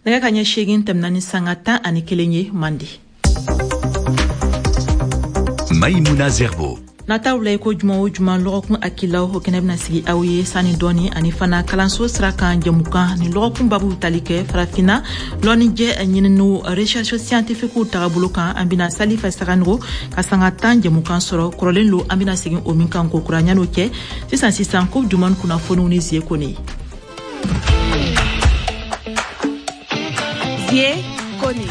Nɛgɛ ka ɲɛ 8 tɛmɛna ni sanga 11 ye Mande. Maïmouna Zerbo. Nataw la i ko juma o juma lɔgɔkun hakilaw o kɛnɛ bɛna sigi aw ye sani dɔɔni ani fana kalanso sira kan jɛmukan ni lɔgɔkun babu tali kɛ farafinna lɔnnijɛ ɲininiw recherche scientifique tagabolo kan. An bɛna Salifa Saganogo ka sanga 10 jɛmukan sɔrɔ kɔrɔlen lo, an bɛna segin o min kan ko kura. Ɲan'o cɛ, sisan sisan Coupe du monde kunnafoniw ni Zie Kone. Zie Kone.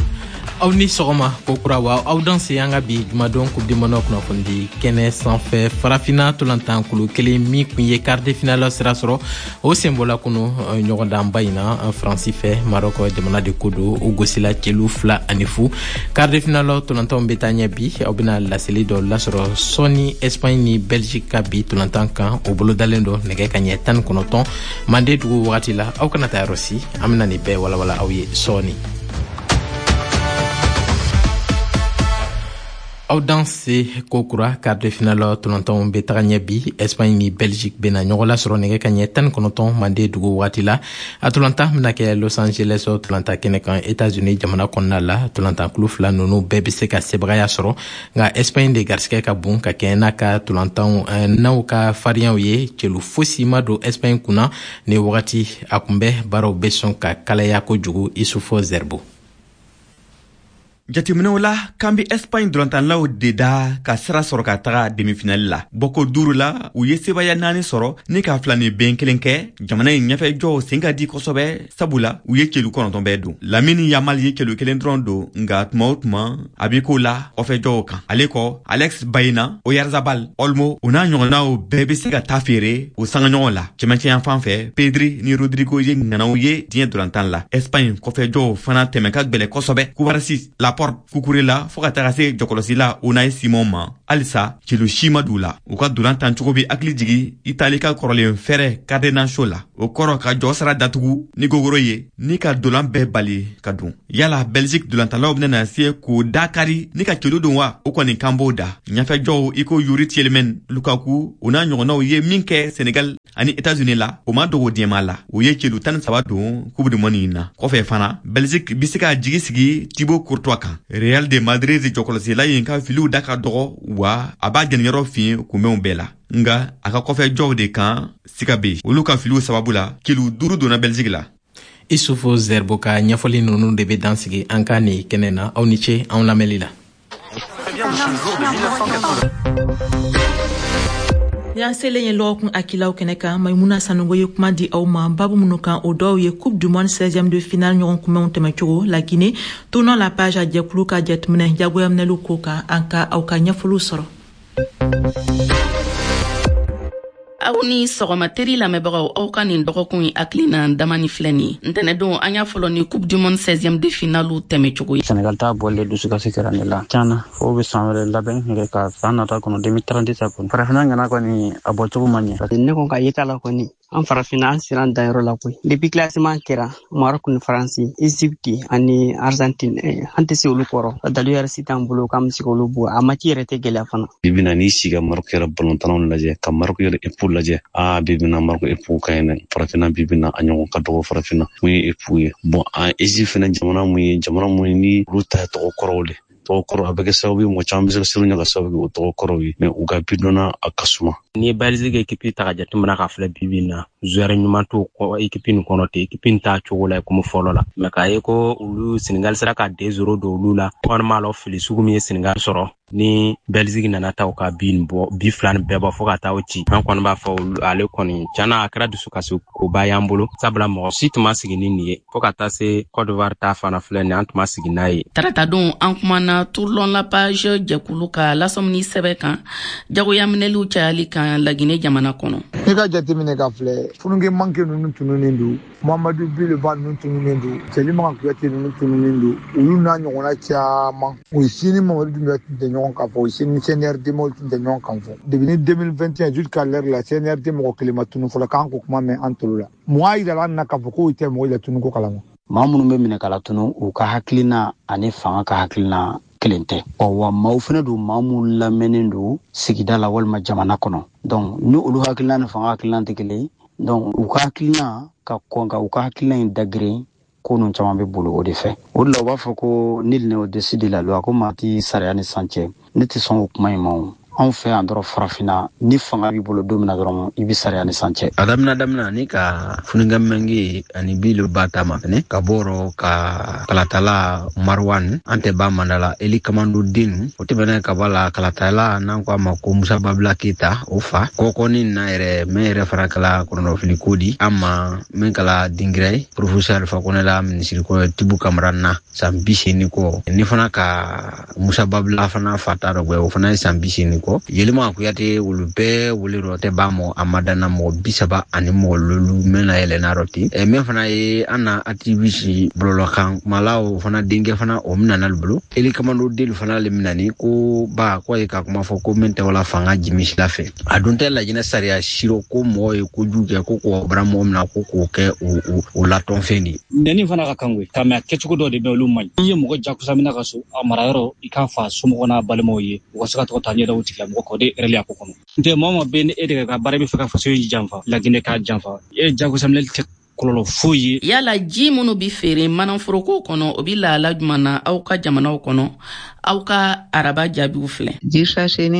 Aw ni sɔgɔma ko kura wa aw danse an ka bi jumadon Coupe du monde kunnafonidi kɛnɛ sanfɛ. Farafinna tolantan kulu kelen min kun ye quart de finale sira sɔrɔ, o senbɔla kunu ɲɔgɔndanba in na Faransi fɛ. Maroc jamana de ko don, o gosila celu 2-0. Quart de finale tolantanw bɛ taa ɲɛ bi. Aw bɛna laseli dɔ lasɔrɔ sɔɔni Espagne ni Belgique ka bi tolantan kan, o bolodalen dɔ nɛgɛ ka ɲɛ 19 Mande dugu wagati la. Aw kana taa yɔrɔ si, an bɛna nin bɛɛ walawala aw ye sɔɔni. Aw danse ko kura. Quart de finale tolantanw bɛ taga ɲɛ bi. Espagne ni Belgique bɛna ɲɔgɔn lasɔrɔ nɛgɛ ka ɲɛ 19 Mande dugu wagati la. A tolantan bɛna kɛ Los Angeles tolantan kɛnɛ kan, États-Unis jamana kɔnɔna la. Tolantan kulu fila ninnu bɛɛ bɛ se ka sebagaya sɔrɔ, nka Espagne de garisigɛ ka bon ka kɛɲɛ n'a ka tolantanw n'aw ka fariyaw ye. Celu fosi ma don Espagne kunna ni wagati. A kunbɛ baaraw bɛ sɔn ka kalaya kojugu. Isufo Zerbo. Jateminɛw la k'an bɛ Espagne dolantanlaw de da ka sira sɔrɔ ka taga demi-finale la. Bɔko 5 la, u ye sebaya 4 sɔrɔ ni ka 2 ni ben 1 kɛ. Jamana in ɲɛfɛjɔw sen ka di kosɛbɛ, sabula u ye celu 9 bɛɛ don. Lamine Yamal ye celu 1 dɔrɔn don, nka tuma o tuma a bɛ ko la kɔfɛjɔw kan. Ale kɔ, Alex Baena, Oyarzabal, Olmo, o n'a ɲɔgɔnnaw bɛɛ bɛ se ka taa feere o sangaɲɔgɔn la. Cɛmancɛ yan fan fɛ, Pedri ni Rodrigo ye ŋanaw ye diɲɛ dolantan la. Espagne kɔfɛjɔw fana tɛmɛ ka gwɛlɛ kosɛbɛ. Cubarsi, Laporte, Cucurella fo ka taga se jɔkɔlɔsila Unai Simon ma, halisa celu si ma d'u la. U ka dolan tan cogo bɛ hakili jigi Itali ka kɔrɔlen fɛrɛ catenaccio la, o kɔrɔ ka jɔ sira datugu ni gogoro ye ni ka dolan bɛɛ bali ka don. Yala Belgique dolantalaw bɛna se k'o da kari ni ka celu don wa? O kɔni kan b'o da. Ɲɛfɛjɔw i ko Yuri Tielemans, Lukaku, o n'a ɲɔgɔnnaw ye min kɛ Senegal ani États-Unis la, o ma dogo diɲɛma la. U ye celu 13 don Coupe du monde in na. Kɔfɛ fana, Belgique bɛ se ka jigi sigi Thibaut Courtois kan. Real de Madrid jɔkɔlɔsila in ka filiw da ka dɔgɔ, wa a b'a jɛniyɔrɔ fiɲɛ kunbɛnw bɛɛ la. Nka a ka kɔfɛjɔw de kan siga bɛ yen. Olu ka filiw sababu la, celu 5 donna Belgique la. Isufo Zerbo ka ɲɛfɔli ninnu de bɛ dan sigi an ka nin kɛnɛ na. Aw ni ce anw lamɛnli la. Y'an selen ye lɔgɔkun hakilaw kɛnɛ kan. Maimuna Sanogo ye kuma di aw ma babu minnu kan, o dɔw ye Coupe du monde 16e de finale ɲɔgɔn kunbɛnw tɛmɛcogo, la Guinée tournant la page a jɛkulu ka jateminɛ jagoyaminɛliw ko kan. An ka aw ka ɲɛfɔliw sɔrɔ. Aw ni sɔgɔma teri lamɛnbagaw, aw ka nin dɔgɔkun in hakilina damani filɛ nin ye. Ntɛnɛdon, an y'a fɔlɔ ni Coupe du monde 16e de finale tɛmɛcogo ye. Senegal ta bɔlen dusukasi kɛra ne la tiɲɛna, fo bɛ san wɛrɛ labɛn yɛrɛ ka san nata kɔnɔ 2030 ta kɔnɔ. Farafinna ŋana kɔni a bɔcogo ma ɲɛ. Parce que ne ko ka yeta la kɔni, an farafinna an sera an danyɔrɔ la koyi. Depuis classement kɛra Maroc ni Faransi, Egypte ani Argentine, an tɛ se olu kɔrɔ. Dalu yɛrɛ si t'an bolo k'an bɛ se k'olu bɔ. A match yɛrɛ tɛ gɛlɛya fana. Bi bi na n'i sigi ka Maroc yɛrɛ balontannaw lajɛ, ka Maroc yɛrɛ équipe lajɛ, bi bi na Maroc équipe ka ɲi dɛ. Farafinna bi bi na a ɲɔgɔn ka dɔgɔ farafinna. Mun ye équipe ye? Bon, an Egypte fɛnɛ jamana mun ye, jamana mun ye ni olu ta ye tɔgɔ kɔrɔw de. Tɔgɔ kɔrɔ a bɛ kɛ sababu ye mɔgɔ caman bɛ se ka siran ɲɛ ka sababu kɛ o tɔgɔ kɔrɔw ye, mais u ka bidɔnna a ka suma. N'i ye Belgique équipe ta ka jateminɛ k'a filɛ bi bi in na, joueur ɲuman t'o équipe nin kɔnɔ ten, équipe nin t'a cogo la komi fɔlɔ la. Mais k'a ye ko olu Senegal sera ka 2-0 don olu la, kɔni m'a lɔ fili sugu min ye Senegal sɔrɔ ni Belgique nana ta u ka bi nin bɔ, bi 2 nin bɛɛ bɔ fo ka taa o ci. An kɔni b'a fɔ olu, ale kɔni tiɲɛna a kɛra dusukasi koba y'an bolo, sabula mɔgɔ si tun ma sigi ni nin ye. Fo ka taa se Côte d'Ivoire ta fana filɛ nin ye, an tun ma sigi n'a ye. Tarata don, an kumana Tourlon la page jɛkulu ka lasɔmini sɛbɛn kan jagoyaminɛliw cayali kan Laginɛ jamana kɔnɔ. N'i ka jateminɛ ka filɛ, fununke manke ninnu tununnen don, Mamadu Bileba ninnu tununnen don, Selimaga Kuyate ninnu tununnen don, olu n'a ɲɔgɔnna caman. O si ni Mamadu Dunbiya tun tɛ ɲɔgɔn kan fɔ, o si ni CNRD mɔgɔw tun tɛ ɲɔgɔn kan fɔ. Depuis ni 2021 jusqu'à l'heure la, CNRD mɔgɔ kelen ma tunu fɔlɔ, k'an ko kuma mɛn an tolo la. Mun y'a yira an na k'a fɔ k'o tɛ mɔgɔw la tunu ko kalama? Maa minnu bɛ minɛ ka latunu, u ka hakilina ani fanga ka hakilina kelen tɛ. Ɔ, wa maaw fana don, maa minnu lamɛnnen don sigida la walima jamana kɔnɔ. Donc ni olu hakilina ni fanga hakilina tɛ kelen ye, donc u ka hakilina ka kɔn ka u ka hakilina in dagirin, Ko ninnu caman bɛ boli o de fɛ. O de la u b'a fɔ ko nul n'est au-dessus de la loi, ko maa tɛ sariya ni san cɛ. Ne tɛ sɔn o kuma in ma o. Anw fɛ yan dɔrɔn farafinna, ni fanga b'i bolo don min na dɔrɔn i bɛ sariya ni san cɛ. A daminɛ ni ka Foniké Menguè ani Billo Bah ta mafɛnɛ ka bɔrɔ ka kalatala Marwan an tɛ ba mandala Eli Kamando den o tɛmɛnen ka bɔ la kalatala n'an ko a ma ko Musa Babila Keyita o fa kɔkɔni na yɛrɛ mɛn yɛrɛ fana kala kɔnɔnɔfili ko di an ma min kala dingira ye professeur Alpha Condé la minisiri kɔrɔ Tibu Kamara na san 80 kɔ ni fana ka Musa Babila fana fa ta dɔ o fana ye san 80 kɔ Yelima Kuyate olu bɛɛ wele dɔ tɛ ba mɔ a ma danna mɔgɔ 35 mɔgɔ 5 mɛn na yɛlɛnna dɔ ten. Mɛn fana ye an na activiste bɔlɔlɔkan kumala o fana denkɛ fana o minɛna bolo Eli Kamando delu fana le minɛni ko ba ko ye ka kuma fɔ ko min tɛ wala fanga jimisila fɛ a dun tɛ Lajinɛ sariya siro ko mɔgɔ ye kojugu kɛ ko k'o bara mɔgɔ min na ko k'o kɛ o latɔnfɛn de. Nɛni fana ka kan koyi ka mɛ a kɛcogo dɔ de bɛ olu man ɲi. N'i ye mɔgɔ jagosa minɛ ka so a marayɔrɔ i k'a fa somɔgɔ n'a balimaw ye u ka se ka tɔgɔ ta ɲɛda o tigilamɔgɔ kan o de ye hɛrɛ a ko kɔnɔ. N tɛ maa o maa bɛ ni e de ka baara bɛ fɛ ka faso in janfa Laginɛ k'a janfa e jagosa minɛli tɛ kɔlɔlɔ foyi ye. Yala ji minnu bi feere manaforoko kɔnɔ o bi lahala juman na aw ka jamanaw kɔnɔ? Aw ka araba jaabiw filɛ. Ji sachet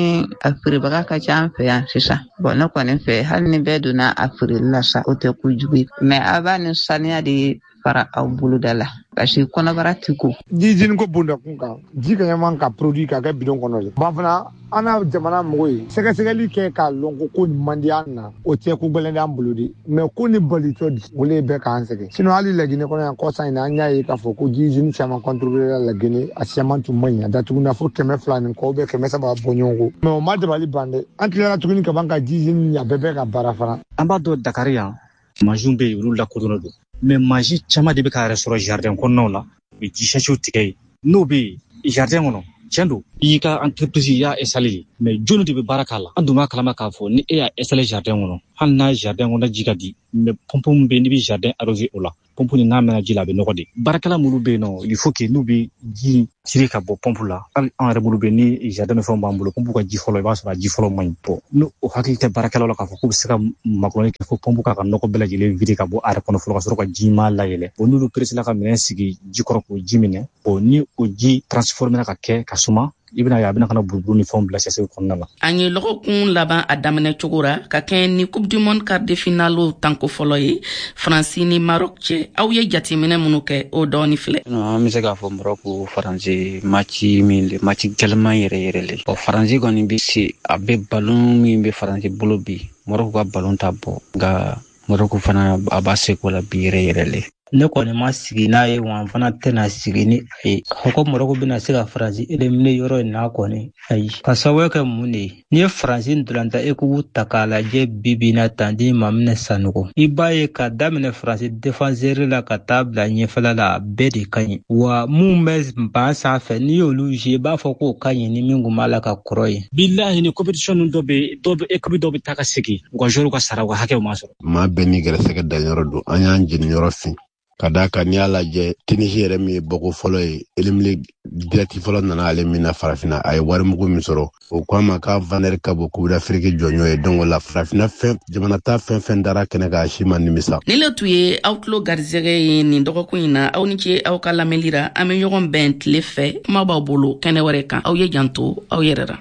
a feerebaga ka ca an fɛ yan sisan. Bon, ne kɔni fɛ, hali ni bɛɛ donna a feereli la sa, o tɛ kojugu ye, mais a b'a ni saniya de fara aw boloda la parce que kɔnɔbara ti ko. Ji jini ko bonda kun kan, ji ka ɲaman ka produit ka kɛ bidon kɔnɔ de ban fana. An na jamana mɔgɔ ye sɛgɛsɛgɛli kɛ k'a lɔn ko nin man di an na, o tɛ ko gɛlɛn d'an bolo de, mais ko ni balitɔ di o le bɛ k'an sɛgɛn. Sinon hali Laginɛ kɔnɔ yan kɔsa in na, an y'a ye k'a fɔ ko ji jini caman contrôler la Laginɛ, a caman tun man ɲi, a datuguna fo 200 ni kɔ bɛ 300 bɔ ɲɔgɔn kɔ, mais o ma dabali ban dɛ. An tilara tuguni ka ban ka ji jini a bɛɛ bɛ ka baara fana. An b'a dɔn Dakari yan mansinw bɛ yen, olu lakodɔnnen don, mais mansin caman de bɛ k'a yɛrɛ sɔrɔ jardin kɔnɔnaw la, u bɛ ji sachetw tigɛ yen. N'o bɛ yen jardin kɔnɔ, tiɲɛ don i y'i ka entreprise i y'a installé, mais jɔnni de bɛ baara k'a la? An dun b'a kalama k'a fɔ ni e y'a installé jardin kɔnɔ, hali n'a jardin kɔnɔ ji ka di, mais pompe min bɛ yen n'i bɛ jardin arrosé o la, pompe ni n'a mɛnna ji la a bɛ nɔgɔ de. Baarakɛla minnu bɛ yen nɔ, il faut que n'u bɛ ji tirer ka bɔ pompe la, hali an yɛrɛ bolo bɛ ni jardin ni fɛnw b'an bolo, pompe ka ji fɔlɔ, i b'a sɔrɔ a ji fɔlɔ man ɲi. Bon, n'o o hakili tɛ baarakɛlaw la k'a fɔ k'u bɛ se ka makɔnɔni kɛ fo pompe k'a ka nɔgɔ bɛɛ lajɛlen vider ka bɔ a yɛrɛ kɔnɔ fɔlɔ ka sɔrɔ ka ji ɲuman layɛlɛ. Bon, n'olu pressé la ka minɛn sigi ji kɔrɔ k'o ji minɛ, bon, ni o ji transformé ka kɛ ka suma, i bɛna ye a bɛna ka na buruburu ni fɛnw bila sachet kɔnɔna la. An ye lɔgɔkun laban a daminɛ cogo ra ka kɛɲɛ ni Coupe du monde quart de finale tanko fɔlɔ ye Faransi ni Maroc cɛ. Aw ye jateminɛ minnu kɛ, o dɔɔni filɛ. An bɛ se k'a fɔ Maroc Faransi match min le, match gɛlɛman yɛrɛ yɛrɛ le. Ɔ Faransi kɔni bɛ se, a bɛ ballon min bɛ Faransi bolo bi, Maroc ka ballon ta bɔ, nka Maroc fana a b'a seko la bi yɛrɛ yɛrɛ le. Ne kɔni ma sigi n'a ye wa n fana tɛna sigi ni a ye ko Marɔku bɛna se ka Faransi éliminer yɔrɔ in na kɔni, ayi. Ka sababu kɛ mun de ye? N'i ye Faransi ntolanta équipe ta k'a lajɛ bi bi in na tan di Mamina Sanogo, i b'a ye ka daminɛ Faransi défenseur la ka taa bila ɲɛfɛla la, a bɛɛ de ka ɲi wa. Mun bɛ ban sanfɛ, n'i y'olu jouer, i b'a fɔ k'o ka ɲi ni min kun b'a la ka kɔrɔ ye. Bilahi, ni compétition ninnu dɔ bɛ dɔw bɛ équipe dɔw bɛ taa ka segin, u ka joueur ka sara, u ka hakɛw ma sɔrɔ. Maa bɛɛ n'i gɛrɛsɛgɛ danyɔrɔ don. An y'an jeniyɔrɔ fin ka d'a kan. N'i y'a lajɛ, Tunisie yɛrɛ min ye bɔko fɔlɔ ye, éliminé direct fɔlɔ nana ale min na farafinna, a ye warimugu min sɔrɔ, o ko a ma k'a valeur ka bon Coupe d'Afrique jɔnjɔn ye. Donc o la farafinna fɛn jamana ta fɛn fɛn dara kɛnɛ kan, a si ma nimisa. Ni le tun ye aw tulo garisɛgɛ ye nin dɔgɔkun in na. Aw ni ce aw ka lamɛnli ra. An bɛ ɲɔgɔn bɛn tile fɛ, kuma b'aw bolo kɛnɛ wɛrɛ kan. Aw ye janto aw yɛrɛ ra.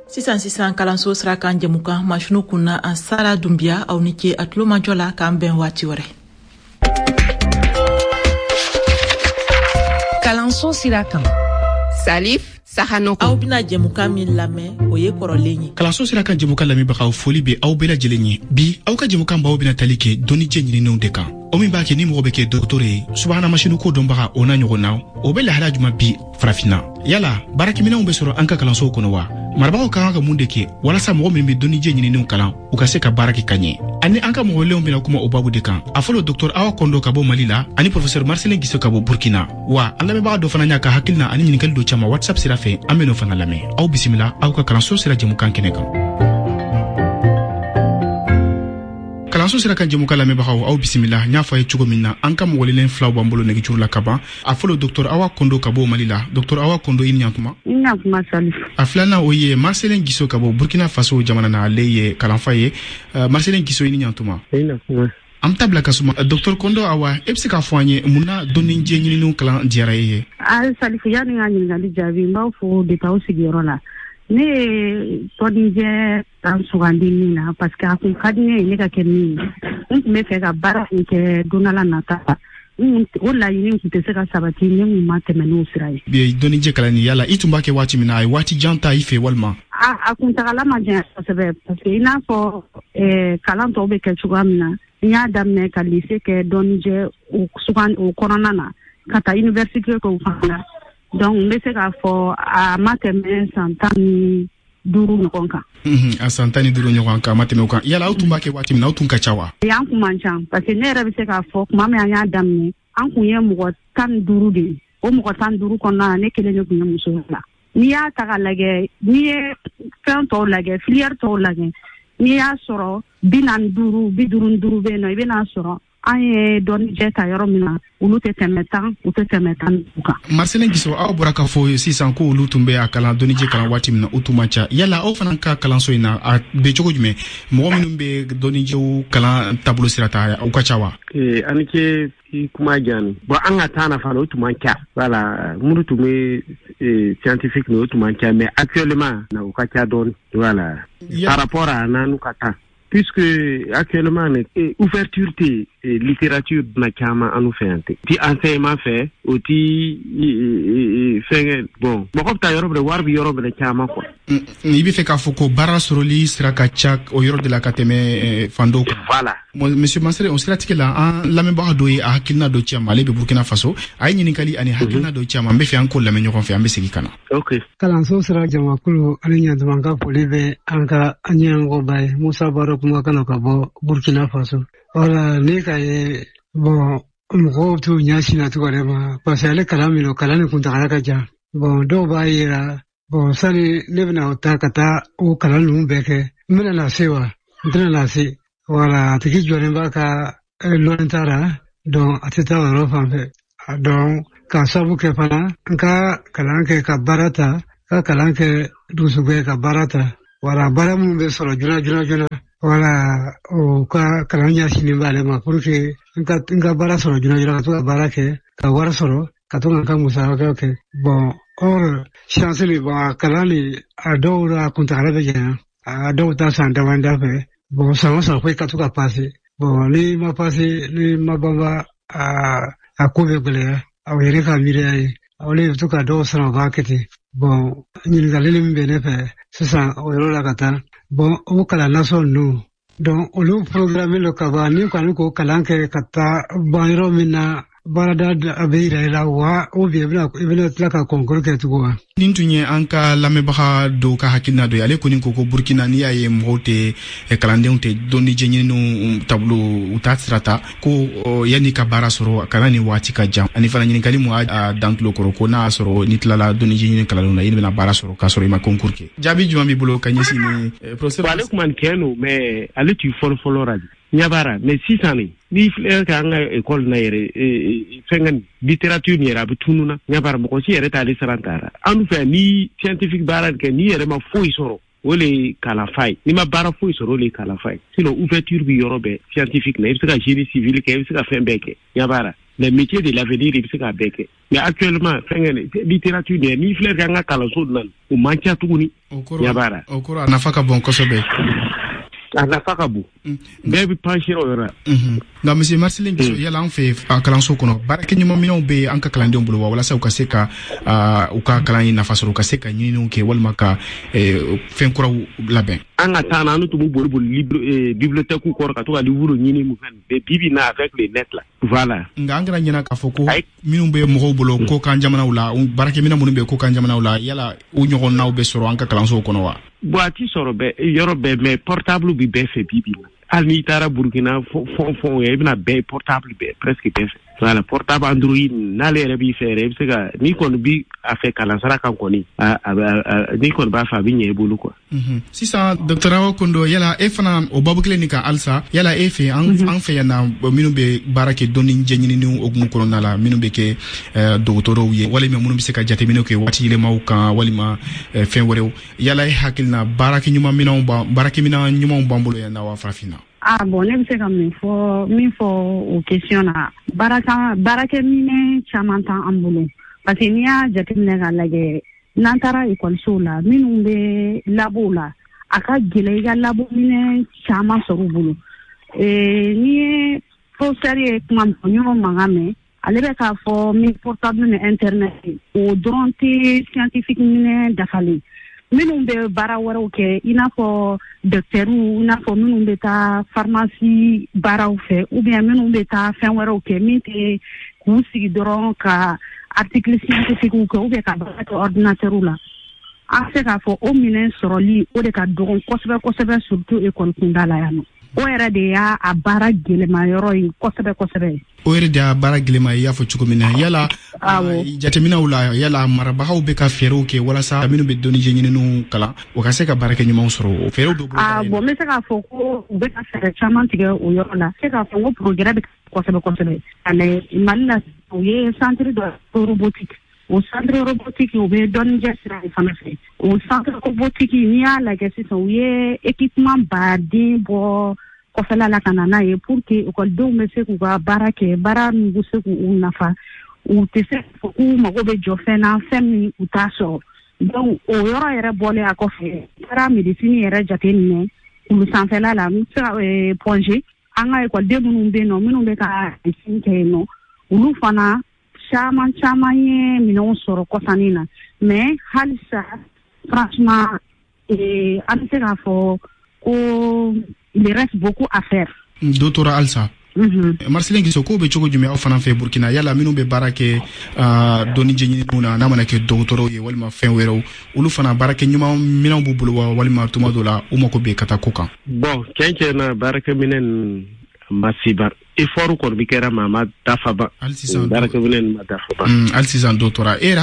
Sisan sisan, kalanso sira kan jɛmukan masinu kunna, an Sara Dunbiya. Aw ni ce a tulomajɔ la, k'an bɛn waati wɛrɛ. Kalanso sira kan, Salif Sahanoko. Aw bɛna jɛmukan min lamɛn, o ye kɔrɔlen ye. Kalanso sira kan jɛmukan lamɛnbagaw, foli bɛ aw bɛɛ lajɛlen ye. Bi, aw ka jɛmukan baw bɛna tali kɛ dɔnnijɛ ɲininenw de kan, o min b'a kɛ ni mɔgɔ bɛ kɛ dɔgɔtɔrɔ ye, subahana masini ko dɔnbaga, o n'a ɲɔgɔn na. O bɛ lahala juman bi farafinna? Yala baarakɛminɛnw bɛ sɔrɔ an ka kalansow kɔnɔ wa? Marabagaw ka kan ka mun de kɛ walasa mɔgɔ min bɛ dɔnnijɛ ɲininenw kalan, u ka se ka baara kɛ ka ɲɛ? Ani an ka mɔgɔlenw bɛna kuma o babu de kan. A fɔlɔ, Dr Awa Kondo ka bɔ Mali la, ani professeur Marcelin Giso ka bɔ Burkina. Wa an lamɛnbaga dɔ fana y'a ka hakilina ani ɲininkali dɔ caman WhatsApp sira fɛ, an bɛn'o fana lamɛn. Aw bisimila aw ka kalanso sira jɛmukan kɛnɛ kan. Kalanso sira kan jɛmukan lamɛnbagaw, aw bisimila. N y'a fɔ a ye cogo min na, an ka mɔgɔlelen filaw b'an bolo nɛgɛjuru la ka ban. A fɔlɔ, Dr Awa Kondo ka bɔ Mali la. Dr Awa Kondo, i ni ɲantuma. I ni ɲantuma, Salif. A filanan, o ye Marcelin Giso ka bɔ Burkina Faso jamana na, ale ye kalanfa ye. Marcelin Giso, i ni ɲantuma. I ni ɲantuma. An bɛ taa bila ka suma. Docteur Kondo Awa, e bɛ se k'a fɔ an ye mun na dɔnnijɛ ɲininiw kalan diyara e ye? Salifu, yanni n ka ɲininkali jaabi, n b'aw fo depuis aw sigiyɔrɔ la. Ne ye dɔnnijɛ kalan sugandi min na, parce que a kun ka di ne ye ne ka kɛ min ye. N tun bɛ fɛ ka baara min kɛ don dɔ la nata la, o laɲini tun tɛ se ka sabati ne kun ma tɛmɛ n'o sira ye. Dɔnnijɛ kalanni, yala i tun b'a kɛ waati min na, a ye waati jan ta i fɛ walima? A kuntagala ma janya kosɛbɛ, parce que i n'a fɔ kalan tɔw bɛ kɛ cogoya min na, n y'a daminɛ ka lycée kɛ dɔnnijɛ o kɔnɔna na, ka taa université kɛ o fana na. Donc n bɛ se k'a fɔ a ma tɛmɛ san 15 ɲɔgɔn kan. A san 15 ɲɔgɔn kan, a ma tɛmɛ o kan. Yala aw tun b'a kɛ waati min na, aw tun ka ca wa? An kun man ca, parce que ne yɛrɛ bɛ se k'a fɔ tuma min an y'a daminɛ, an kun ye mɔgɔ 15 de ye. O mɔgɔ 15 kɔnɔna na, ne kelen de tun ye muso la. N'i y'a ta k'a lajɛ, n'i ye fɛn tɔw lajɛ, filière tɔw lajɛ, n'i y'a sɔrɔ 45, 55 bɛ yen nɔ, i bɛn'a sɔrɔ an ye dɔnnijɛ ta yɔrɔ min na, olu tɛ tɛmɛ 10, u tɛ tɛmɛ 15 kan. Marcelin Giso, aw bɔra k'a fɔ sisan ko olu tun bɛ a kalan, dɔnnijɛ kalan waati min na, u tun man ca. Yala aw fana ka kalanso in na, a bɛ cogo jumɛn? Mɔgɔ minnu bɛ dɔnnijɛw kalan taabolo sira ta, u ka ca wa? Ani ce i kuma diya. Bon, an ka temps na fana, o tun man ca. Voilà, minnu tun bɛ scientifique o tun man ca, mais actuellement o ka ca dɔɔni. Voilà, par rapport à n'anu ka temps, puisque actuellement ouverture tɛ littérature na caman anu fɛ yan ten ti enseignement fɛ, o ti fɛnkɛ. Bon, mɔgɔ bɛ taa yɔrɔ bɛɛ, wari bɛ yɔrɔ bɛɛ caman quoi. I bɛ fɛ k'a fɔ ko baara sɔrɔli sira ka ca o yɔrɔ de la ka tɛmɛ fan dɔw kan. Voilà. Monsieur Marcelin, o siratigɛ la, an lamɛnbaga dɔ ye a hakilina dɔ ci a ma, ale bɛ Burkina Faso. A ye ɲininkali ani hakilina dɔ ci a ma, n bɛ fɛ an k'o lamɛn ɲɔgɔn fɛ, an bɛ segin ka na. Ok. Kalanso sira jamakulu ani ɲantuma ka foli bɛ an ka ɲɛmɔgɔba ye, Musa Baro kumakan ka bɔ Burkina Faso. Wala ne ka ye, bon, mɔgɔw t'u ɲɛsin na cogo de ma, parce que ale kalan min don, kalan nin kuntagala ka jan. Bon, dɔw b'a yira, bon, sani ne bɛna o ta ka taa o kalan ninnu bɛɛ kɛ, n bɛna na se wa, n tɛna na se. Wala a tigi jɔlen b'a ka lɔnni ta la, donc a tɛ taa o yɔrɔ fan fɛ. Donc k'a sababu kɛ fana, n ka kalan kɛ ka baara ta, ka kalan kɛ dugusugɛ ka baara ta. Wala baara minnu bɛ sɔrɔ joona joona joona, wala o ka kalan ɲɛsinnen b'ale ma pour que n ka baara sɔrɔ joona joona, ka to ka baara kɛ ka wari sɔrɔ, ka to ka n ka musakaw kɛ. Bon, or science ni, bon, a kalan ni a dɔw la kuntagala bɛ janya, a dɔw ta san damadɔ fɛ. Bon, san o san ko i ka to ka passer. Bon, n'i ma passer, n'i ma banba, a ko bɛ gɛlɛya. Aw yɛrɛ ka miiriya ye, aw de bɛ to ka dɔw sara, u b'a kɛ ten. Bon, ɲininkali min bɛ ne fɛ sisan o yɔrɔ la ka taa, bon, o kalan nasɔn ninnu, donc olu programme don ka ban, ni kɔni k'o kalan kɛ ka taa ban yɔrɔ min na, baarada a bɛ yira i la wa, ou bien i bɛna tila ka concours kɛ tugun wa? Nin tun ye an ka lamɛnbaga dɔw ka hakilina dɔ ye. Ale kɔni ko ko Burkina, n'i y'a ye mɔgɔw tɛ, kalandenw tɛ dɔnnijɛ ɲininiw taabolo, u t'a sira ta, ko yanni ka baara sɔrɔ, kalan ni waati ka jan. Ani fana ɲininkali mun a dan tulo kɔrɔ, ko n'a y'a sɔrɔ n'i tilala dɔnnijɛ ɲini kalanw na, i bɛna baara sɔrɔ k'a sɔrɔ i ma concours kɛ. Jaabi jumɛn b'i bolo ka ɲɛsin ni professeur? Ale kuma nin tiɲɛ don, mais ale tun fɔlɔ fɔlɔ la ɲɛ b'a la. Mais sisan nin, n'i filɛ ka an ka école na yɛrɛ, fɛnkɛ nin littérature nin yɛrɛ, a bɛ tunun na ɲɛ b'a la, mɔgɔ si yɛrɛ t'ale siran ta la. An fɛ, ni scientifique baara kɛ, n'i yɛrɛ ma foyi sɔrɔ, o le ye kalanfa ye. N'i ma baara foyi sɔrɔ, o le ye kalanfa ye. Sinon ouverture bɛ yɔrɔ bɛɛ scientifique na, i bɛ se ka génie civil kɛ, i bɛ se ka fɛn bɛɛ kɛ ɲɛ b'a la. Les métiers de l'avenir, i bɛ se k'a bɛɛ kɛ. Mais actuellement fɛnkɛ littérature nin, n'i filɛ ka an ka kalanso na, o man ca tuguni ɲɛ b'a la. O kɔrɔ a nafa ka bon kosɛbɛ. A nafa ka bon, bɛɛ bɛ pencher o yɔrɔ la. Nka monsieur Marcelin Giso, yala an fɛ a kalanso kɔnɔ, baarakɛɲumanminɛnw bɛ an ka kalandenw bolo wa, walasa u ka se ka u ka kalan in nafa sɔrɔ, u ka se ka ɲininiw kɛ walima ka fɛn kuraw labɛn? An ka taa na, an tun bɛ boli boli bibliothèque kɔrɔ ka to ka livre ɲini mun fɛn bɛɛ. Bi bi na, avec le net là, voilà. Nka an kana ɲinɛ k'a fɔ ko minnu bɛ mɔgɔw bolo kokan jamanaw la, baarakɛminɛn minnu bɛ kokan jamanaw la, yala u ɲɔgɔnnaw bɛ sɔrɔ an ka kalansow kɔnɔ wa? Bon, a ti sɔrɔ bɛɛ yɔrɔ bɛɛ, mais portable bi bɛɛ fɛ bi bi la. Hali n'i taara Burukina fɔn fɔn ye, i bɛna bɛɛ portable bɛɛ presque bɛɛ fɛ. Voilà, portable Android n'ale yɛrɛ b'i fɛ yɛrɛ, i bɛ se ka, n'i kɔni bi a fɛ kalansara kan kɔni, n'i kɔni b'a fɛ, a bɛ ɲɛ i bolo quoi. Sisan docteur Awa Kondo, yala e fana o babu kelen nin kan halisa, yala e fɛ an fɛ yan na, minnu bɛ baara kɛ dɔnni jɛɲininiw hukumu kɔnɔna la, minnu bɛ kɛ dɔgɔtɔrɔw ye walima minnu bɛ se ka jateminɛw kɛ waati yɛlɛmaw kan walima fɛn wɛrɛw, yala e hakili na baarakɛminɛn ɲumanw b'an bolo yan na wa farafinna? Ah bon, ne bɛ se ka min fɔ o question na, baarakɛminɛn caman t'an bolo, parce que n'i y'a jateminɛ k'a lajɛ, n'an taara ekɔlisow la, minnu bɛ labow la, a ka gɛlɛn i ka labominɛn caman sɔrɔ u bolo. N'i ye professeur ye kuma min fɔ, n y'o mankan mɛn, ale bɛ k'a fɔ min portable ni internet, o dɔrɔn tɛ scientifique minɛn dafalen. Minnu bɛ baara wɛrɛw kɛ, i n'a fɔ dɔkitɛriw, i n'a fɔ minnu bɛ taa pharmacie baaraw fɛ, ou bien minnu bɛ taa fɛn wɛrɛw kɛ min tɛ k'u sigi dɔrɔn ka article scientifique kɛ ou bien ka baara kɛ ordinateur la, an bɛ se k'a fɔ o minɛn sɔrɔli o de ka dɔgɔn kosɛbɛ kosɛbɛ, surtout école kunda la yan nɔ. O yɛrɛ de y'a a baara gɛlɛma yɔrɔ ye kosɛbɛ kosɛbɛ. O yɛrɛ de y'a baara gɛlɛma ye, i y'a fɔ cogo min na. Yala jateminɛw la, yala marabagaw bɛ ka fɛɛrɛw kɛ walasa minnu bɛ dɔnnijɛ ɲininiw kalan, u ka se ka baarakɛ ɲumanw sɔrɔ, o fɛɛrɛw dɔ bolo? Bon, n bɛ se k'a fɔ ko u bɛ ka fɛɛrɛ caman tigɛ o yɔrɔ la. N bɛ se k'a fɔ ko progrès bɛ kosɛbɛ kosɛbɛ. Ani Mali la, u ye centre dɔ robotique. O centre robotique, u bɛ dɔnnijɛ sira de fana fɛ. O centre robotique, n'i y'a lajɛ sisan, u ye équipement baden bɔ kɔfɛla la ka na n'a ye pour que ekɔlidenw bɛ se k'u ka baara kɛ, baara min bɛ se k'u nafa, u tɛ se k'a fɔ k'u mago bɛ jɔ fɛn na, fɛn min u t'a sɔrɔ. Donc o yɔrɔ yɛrɛ bɔlen a kɔfɛ, taara médecine yɛrɛ jateminɛ kulu sanfɛla la, n bɛ se ka Point G, an ka ekɔliden minnu bɛ yen nɔ, minnu bɛ ka médecine kɛ yen nɔ, olu fana caman caman ye minɛnw sɔrɔ kɔsannin na. Mais halisa, franchement, an bɛ se k'a fɔ ko il reste beaucoup à faire. Dɔ tora halisa. Marcelin Giso, ko bɛ cogo jumɛn aw fana fɛ Burkina? Yala minnu bɛ baara kɛ dɔnnijɛ ɲininiw na, n'a mana kɛ dɔgɔtɔrɔw ye walima fɛn wɛrɛw, olu fana baarakɛ ɲuman minɛnw b'u bolo wa, walima tuma dɔ la u mako bɛ ka taa ko kan? Bon, tiɲɛ tiɲɛ na, baarakɛminɛn ma se ban. Effort kɔni bɛ kɛra, ma a ma dafa ban. Hali sisan baarakɛminɛn ma dafa ban. Hali sisan dɔ tora. E yɛrɛ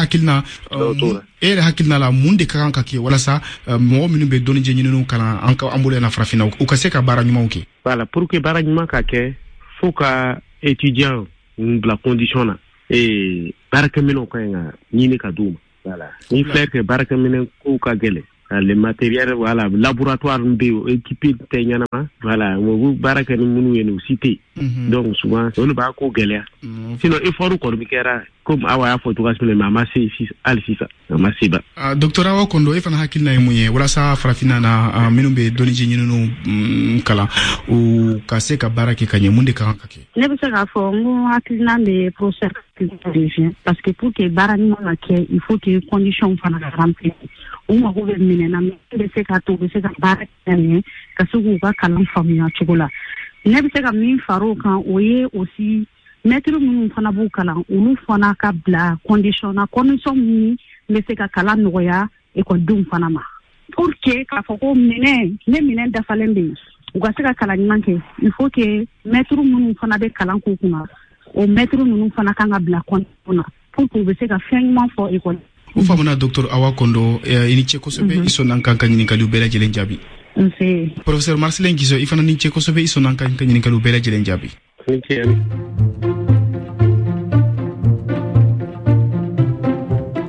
hakilina la, mun de ka kan ka kɛ walasa mɔgɔ minnu bɛ dɔnnijɛ ɲininiw kalan an ka an bolo yan farafinna, u ka se ka baara ɲumanw kɛ? Voilà, pour que baara ɲuman ka kɛ, fo ka étudiant bila condition na, baarakɛminɛnw ka ɲi ka ɲini ka d'u ma. Voilà, ni filɛ kɛ baarakɛminɛn kow ka gɛlɛn, le matériel, voilà, laboratoire bɛ yen, équipé tɛ ɲɛnama, voilà, u bɛ baara kɛ ni minnu ye, u si tɛ yen. Donc souvent olu b'a ko gɛlɛya. Sinon effort kɔni bɛ kɛra, komi Awa y'a fɔ cogoya min na, mais a ma se hali sisan, a ma se ba. Docteur Awa Kondo, e fana hakilina ye mun ye walasa farafinna na minnu bɛ dɔnnijɛ ɲininiw kalan, u ka se ka baara kɛ ka ɲɛ, mun de ka kan ka kɛ? Ne bɛ se k'a fɔ n ko hakilina bɛ professeur revient, parce que pour que baara ɲuman ka kɛ, il faut que condition fana ka remplir. U mago bɛ minɛn na min bɛ se k'a to u bɛ se ka baara kɛ ɲɛ, ka se k'u ka kalan faamuya cogo la. Ne bɛ se ka min fara o kan, o ye aussi maître minnu fana b'u kalan, olu fana ka bila condition na, condition min bɛ se ka kalan nɔgɔya ekɔlidenw fana ma, pour que k'a fɔ ko minɛn ne minɛn dafalen bɛ yen, u ka se ka kalan ɲuman kɛ. Il faut que maître minnu fana bɛ kalan k'u kunna, o maître ninnu fana kan ka bila condition na pour que u bɛ se ka fɛn ɲuman fɔ ekɔli. O faamuna. Docteur Awa Kondo, i ni ce kosɛbɛ, i sɔnna an kan ka ɲininkaliw bɛɛ lajɛlen jaabi. Nse. Professeur Marcelin Giso, i fana ni ce kosɛbɛ, i sɔnna an kan ka ɲininkaliw bɛɛ lajɛlen jaabi.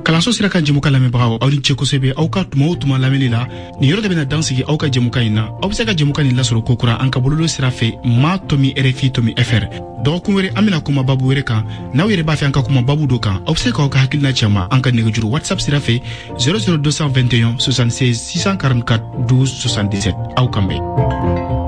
Kalanso sira kan jɛmukan lamɛnbagaw, aw ni ce kosɛbɛ aw ka tuma o tuma lamɛnni la. Nin yɔrɔ de bɛna dan sigi aw ka jɛmukan in na. Aw bɛ se ka jɛmukan nin lasɔrɔ kokura an ka bɔlɔlɔ sira fɛ, ma tomi rfi tomi fr. Dɔgɔkun wɛrɛ, an bɛna kuma babu wɛrɛ kan. N'aw yɛrɛ b'a fɛ an ka kuma babu dɔ kan, aw bɛ se k'aw ka hakilina ci an ma an ka nɛgɛjuru WhatsApp sira fɛ, 00221 76 644 12 77. Aw kan bɛn.